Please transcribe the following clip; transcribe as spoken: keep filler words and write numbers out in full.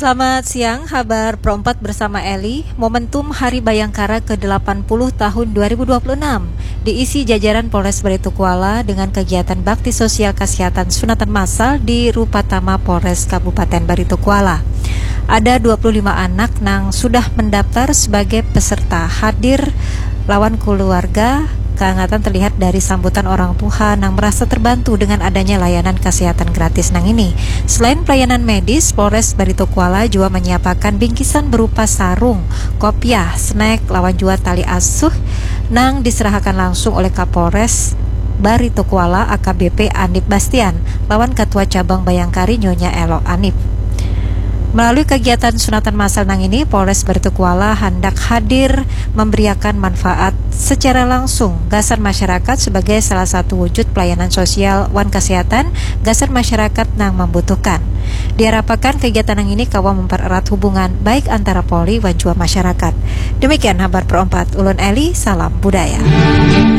Selamat siang, habar perempat bersama Eli. Momentum Hari Bayangkara ke delapan puluh tahun dua ribu dua puluh enam diisi jajaran Polres Baritokuala dengan kegiatan bakti sosial kesehatan sunatan massal di Rupatama Polres Kabupaten Baritokuala. Ada dua puluh lima anak nang sudah mendaftar sebagai peserta hadir lawan keluarga. Kehangatan terlihat dari sambutan orang tua nang merasa terbantu dengan adanya layanan kesehatan gratis nang ini. Selain pelayanan medis, Polres Baritokuala juga menyiapakan bingkisan berupa sarung, kopiah, snack, lawan jua tali asuh nang diserahakan langsung oleh Kapolres Baritokuala A K B P Anip Bastian lawan Ketua Cabang Bayangkari Nyonya Elo Anip. Melalui kegiatan sunatan massal nang ini, Polres Baritokuala hendak hadir memberiakan manfaat secara langsung gasan masyarakat sebagai salah satu wujud pelayanan sosial wan kesehatan gasan masyarakat nang membutuhkan. Diharapkan kegiatan nang ini kawa mempererat hubungan baik antara Polri wan jua masyarakat. Demikian habar perempat, ulun Eli, salam budaya.